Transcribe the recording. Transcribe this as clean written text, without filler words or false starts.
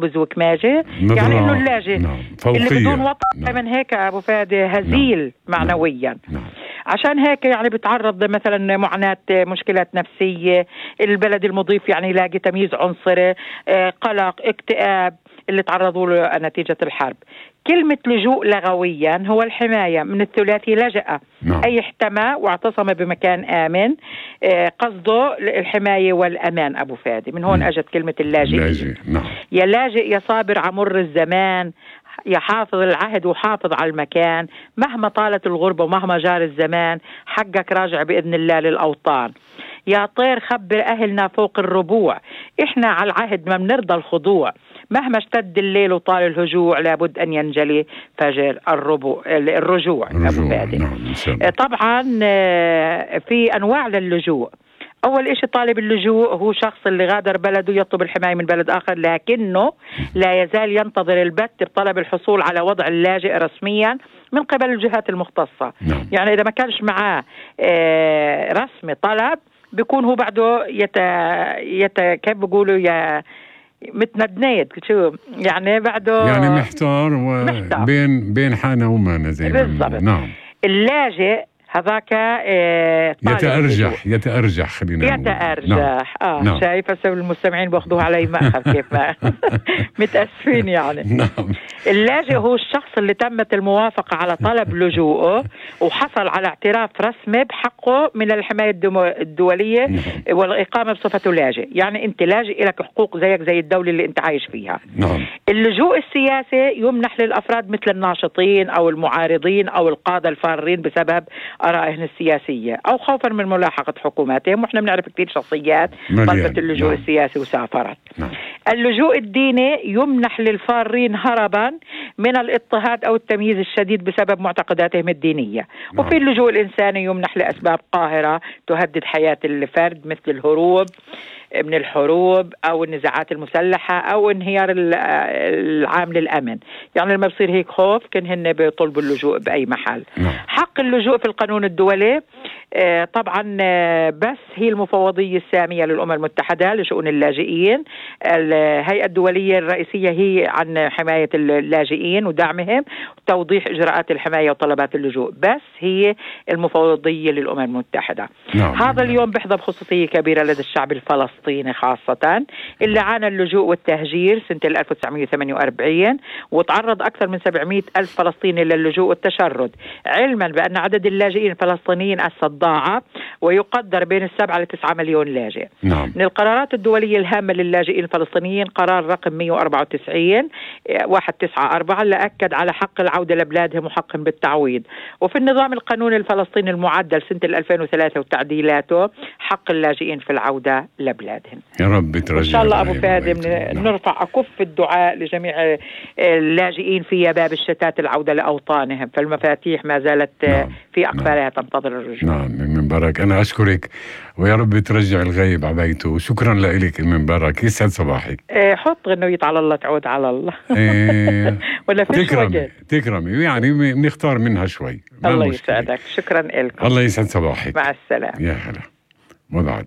خبز وكماجة، يعني إنه اللاجئ اللي بدون وطن من هيك أبو فادي هزيل معنويا. عشان هيك يعني بتعرض مثلا معاناة مشكلات نفسية، البلد المضيف يعني يلاقي تمييز عنصري، قلق، اكتئاب اللي تعرضوا له نتيجة الحرب. كلمة لجوء لغويا هو الحماية من الثلاثي لجأ، أي احتمى واعتصم بمكان آمن، قصده الحماية والأمان أبو فادي. من هون أجت كلمة اللاجئ. يا لاجئ يا صابر عمر الزمان، يا حافظ العهد وحافظ على المكان، مهما طالت الغربة ومهما جار الزمان حقك راجع بإذن الله للأوطان. يا طير خبر أهلنا فوق الربوع، إحنا على العهد ما بنرضى الخضوع، مهما اشتد الليل وطال الهجوع لابد أن ينجلي فجر الرجوع. أبو فادي. طبعا في أنواع للجوء. أول إشي طالب اللجوء هو شخص اللي غادر بلده يطلب الحماية من بلد آخر، لكنه لا يزال ينتظر البت بطلب الحصول على وضع اللاجئ رسميا من قبل الجهات المختصة. يعني إذا ما كانش معاه رسمي طلب بيكون هو بعده كيف بيقولوا متندنيد، شو يعني بعده يعني محتار بين حانة ومانة زي ما بالضبط. اللاجئ هذاك يتأرجح خلينا يتأرجح. شايفة المستمعين باخذوها علي مأخذ كيف متأسفين يعني. اللاجئ هو الشخص اللي تمت الموافقة على طلب لجوءه وحصل على اعتراف رسمي بحقه من الحماية الدولية والإقامة بصفته لاجئ. يعني أنت لاجئ لك حقوق زيك زي الدولة اللي أنت عايش فيها. اللجوء السياسي يمنح للأفراد مثل الناشطين أو المعارضين أو القادة الفارين بسبب آرائهم السياسية أو خوفا من ملاحقة حكوماتهم، وإحنا بنعرف كثير شخصيات طلبت اللجوء السياسي وسافرت. اللجوء الديني يمنح للفارين هربا من الاضطهاد أو التمييز الشديد بسبب معتقداتهم الدينية. وفي اللجوء الإنساني يمنح لأسباب قاهرة تهدد حياة الفرد مثل الهروب من الحروب أو النزاعات المسلحة أو انهيار العام للأمن. يعني لما بصير هيك خوف كان هن بيطلبوا اللجوء بأي محل. حق اللجوء في القانون الدولي طبعا بس هي المفوضية السامية للأمم المتحدة لشؤون اللاجئين. الهيئة الدولية الرئيسية هي عن حماية اللاجئين ودعمهم وتوضيح إجراءات الحماية وطلبات اللجوء، بس هي المفوضية للأمم المتحدة. هذا اليوم بيحظى بخصوصية كبيرة لدى الشعب الفلسطيني خاصة اللي عانى اللجوء والتهجير سنة 1948 وتعرض أكثر من 700 ألف فلسطيني للجوء والتشرد، علما بأن عدد اللاجئين الفلسطينيين ضاعف ويقدر بين 7 ل 9 مليون لاجئ. من القرارات الدولية الهامة للاجئين الفلسطينيين قرار رقم 194 194 اللي أكد على حق العودة لبلادهم وحقهم بالتعويض. وفي النظام القانوني الفلسطيني المعدل سنة 2003 وتعديلاته حق اللاجئين في العودة لبلادهم. يا رب ترجع إن شاء الله أبو فادي نرفع أكف الدعاء لجميع اللاجئين في يباب الشتات العودة لأوطانهم، فالمفاتيح ما زالت في أقفالها تنتظر الرجوع. من برك. أنا أشكرك ويا رب ترجع الغيب على بيته، وشكرا لك من برك. يسعد صباحك. حط غنوية على الله تعود على الله. ولا فيش تكرمي يعني بنختار منها شوي. الله يسعدك. شكرا لكم. الله يسعد صباحك. مع السلامة. يا هلا. وبعد